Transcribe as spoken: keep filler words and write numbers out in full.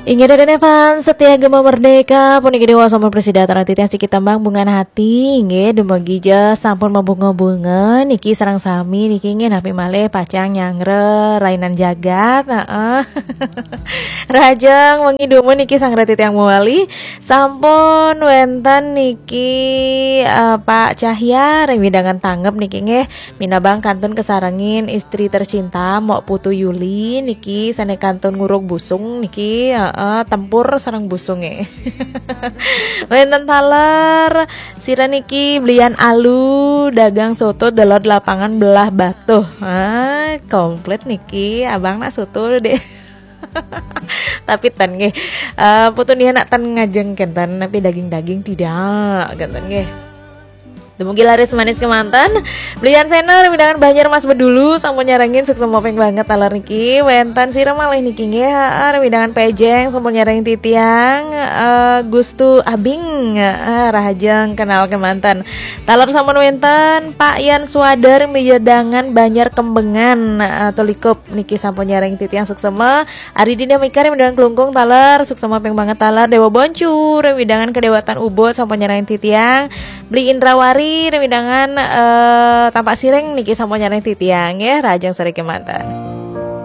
Inggih, Deden Evan, setia Gema Merdeka, puniki Dewa sampun prasida titiang siki tembang Bungan Hati, inggih, dumugi ja sampun mabunga-bunga, niki sareng sami, niki inggih napi malih pacang nyanggra rainan jagat, heeh. Rahajeng wengi dumun niki sareng titiang mawali, sampun wenten niki, eh, Pak Cahya, ring wewidangan tanggep niki inggih, minabang kantun kasarengin istri tercinta, Mok Putu Yuli, niki sane kantun nguruk busung, niki, heeh, tempur sareng busunge. Wenten taler, sira niki belian alu, dagang soto, delod lapangan belah batuh. Ah, komplit niki, abang nak soto deh. Tapi ten nggih, eh, Putu nia nak ten ngajeng kenten, tapi daging-daging tidak, kenten nggih. Dumugi laris manis kemanten. Belian Sena, ring wewidangan Banjar Mas Bedulu, sampun nyarengin, suksma ping banget taler niki. Wenten sira malih niki nggih, heeh, ring wewidangan Pejeng, sampun nyarengin titiang, eh, Gustu Abing, heeh, rahajeng kenal kemanten. Taler sampun wenten, Pak Yan Swadar, ring wewidangan Banjar Kembengan, eh, Tulikup niki sampun nyarengin titiang, suksma. Ari Dinda Mika, ring wewidangan Klungkung taler, suksma ping banget taler. Dewa Boncu, ring wewidangan Kedewatan Ubud, sampun nyarengin titiang. Beli Indrawari, ring wewidangan, eh, Tampak Siring niki sampun nyarengin titiang, nggih, rahajeng sore kemanten.